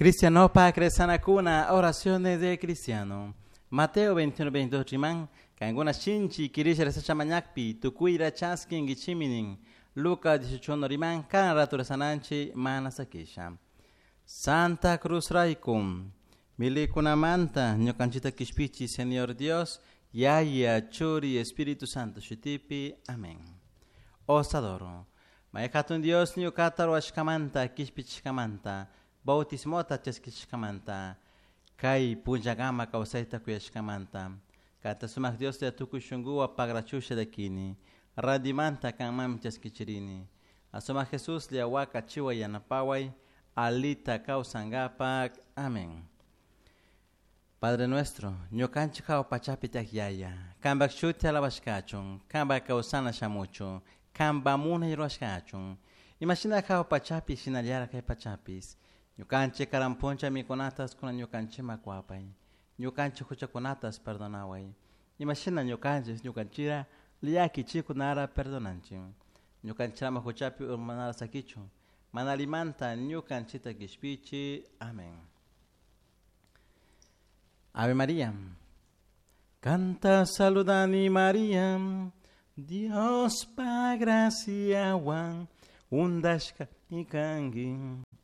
Cristianopa Cresanacuna, oraciones de cristiano. Mateo 21, 22 riman, kankuna shinchi kirisha rezasha mañakpi, tukuyra chaskinkichiminin. Lucas 18 riman, kan rato rezananchi mana sakisha. Santa Cruz raykum, milikunamanta, ñukanchita kishpichi, Señor Dios, Yaya, Churi, Espíritu Santo, shutipi, amén. Os adoro. Mayhatun Dios ñuqata ruwashkamanta, kishpichishkamanta, bautismota chaskishkamanta, kay punllakama kawsayta kuyashkamanta. Kanta sumak Dios tukuy shunkuwan pagrachusha dakini, rantimanta kanmanmi chaskichirini. Asumak Jesus waka chiwa yanapaway, alita kawsankapak. Amén. Padre nuestro, ñukanchik hawa pachapi tiyak yaya, kanpak shuti alabashkachun, kanpak kawsana shamuchun, kanpak munay rurashkachun. Imashina hawa pachapi shinallara kay pachapis. Ñukanchik karan puncha mikunatas kunan ñukanchikman kuwapay. Ñukanchik huchakunatas perdonaway. Imashina ñukanchik ñukanchira llakichikunara perdonanchik. Ñukanchik ama huchapi urmanara sakichun. Mana allimanta ñukanchikta kishpichi. Amén. Ave María. Kanta saludani María, Dios pa graciawan undashka kanki.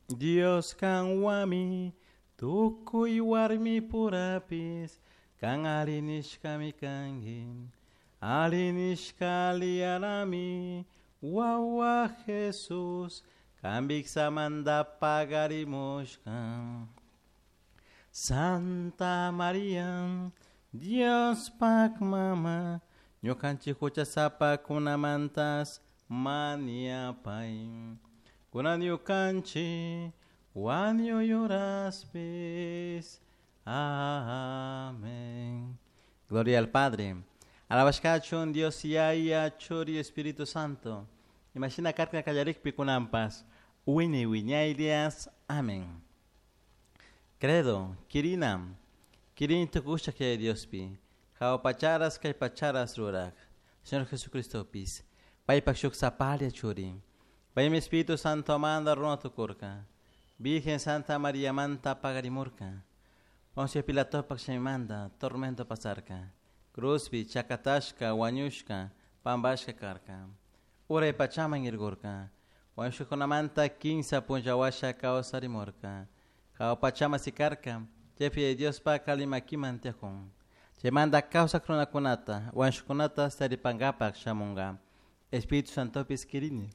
Dios kanwami tukuy warmi purapis kan arinishkami kanki. Arinishka liarami wawa Jesus kan viksamanta pagarimushka. Santa María, Dios pak mama, ñukanchik huchasapakunamantas mañapay. Kunan ñukanchik wañuy uraspis. Amén. Gloria al Padre. Alabashkachun Dios Yaya, Churi, Espíritu Santo. Imashina karka kallarikpi kunanpas. Wiñay wiñaylias. Amén. Credo, Kirina, Kirin tukusha kay Diospi, hawa pacharas kay pacharas rurak, Señor Jesucristo pis, paypak shuk sapalia churi, paymi Espíritu Santo manda runa tukurka, Virgen Santa María manta pagarimurka, Poncio Pilatopak manda tormento pasarka, Cruzpi chakatashka wañushka pambashka karka, Uray pachaman irgurka, wañushkakunamanta kinsa punllawasha kawsarimurka, Hawa pachama sikarka, chaypi Diospa kalimakiman tiyakun. Chaymanta kawsak runakunata, wañushkakunata taripankapak shamunka. Espíritu Santopis kirini,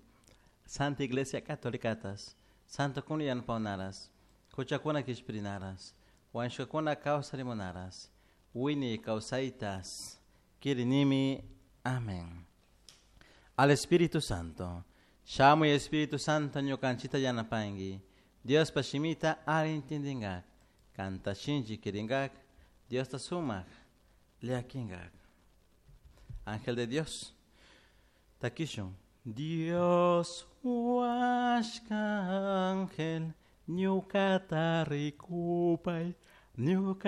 Santa Iglesia Católicatas, Santo kuna yanapawnaras, huchakuna kishpirinaras, wañushkakuna kawsarimunaras, wiñay kawsaytas, kirinimi. Amén. Al Espíritu Santo, shamuy Espíritu Santo ñukanchita yanapanki, Diospa shimita alli intindingak, kanta shinchi kiringak, Diosta sumak llakingak. Ángel de Dios, takishun. Dios huashka ángel, ñukata rikupay, ñuka